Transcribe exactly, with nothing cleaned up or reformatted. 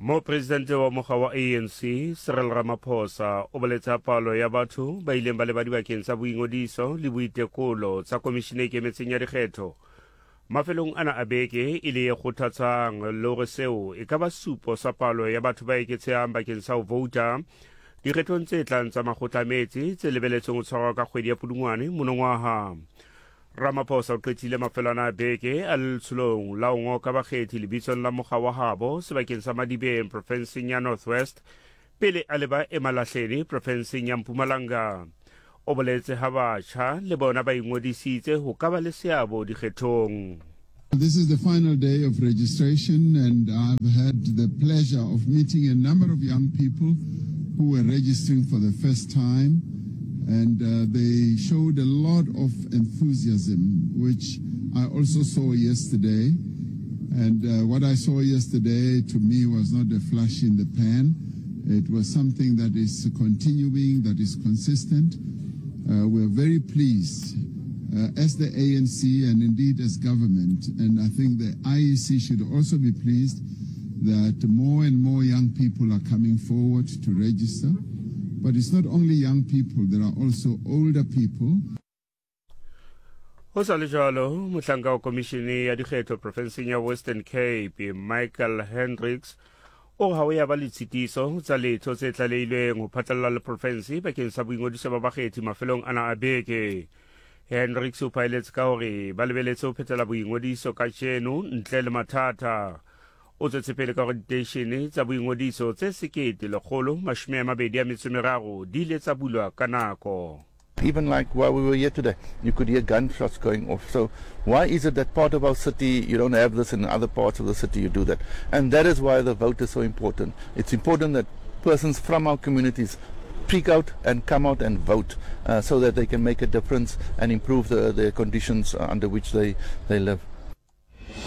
Mopresidente wa mokga wa A N C Cyril Ramaphosa o boletse ha palo ya batho ba ileng ba leba dibakeng tsa boingodiso le boitekolo tsa komishene e ikemetseng ya dikgetho mafelong ana a beke e le e kgothatsang, le hore seo e ka ba supo sa palo ya batho ba eketsehang bakeng sa ho vouta dikgethong tse tlang tsa makgotla a metse tse lebeletsweng ho tshwarwa ka kgwedi ya Pudungwane monongwaha. Ramaphosa o qetile mafelwana a beke a le letsholong la ho ngoka bakgethi lebitsong la mokga wa habo sebakeng sa Madibeng profenseng ya North West pele a leba Emalahleni profenseng ya Mpumalanga. O boletse ha batjha le bona ba ingodisitse ho ka ba le seabo dikgethong. This is the final day of registration, and I've had the pleasure of meeting a number of young people who were registering for the first time, and uh, they showed a lot of enthusiasm, which I also saw yesterday. And uh, what I saw yesterday to me was not a flash in the pan. It was something that is continuing, that is consistent. Uh, we're very pleased uh, as the A N C and indeed as government, and I think the I E C should also be pleased that more and more young people are coming forward to register. But it's not only young people, there are also older people. Ho sa le jwalo, mohlanka wa komishene ya dikgetho profenseng ya Western Cape Michael Hendricks o re ha o ya ba le tshitiso tsa letho tse tlalehilweng ho phatlalla le profense bakeng sa boingodiso ba bakgethi mafelong ana a beke. Hendricks o phaeletse ka hore ba lebeletse ho phethela boingodiso kajeno ntle le mathata. O tswetse pele ka hore diteishene tsa boingodiso tse sekete lekgolo mashome a mabedi a metso e meraro di ile tsa bulwa ka nako. Even like while we were here today, you could hear gunshots going off. So why is it that part of our city you don't have this and in other parts of the city you do that? And that is why the vote is so important. It's important that persons from our communities speak out and come out and vote uh, so that they can make a difference and improve the, the conditions uh, under which they, they live.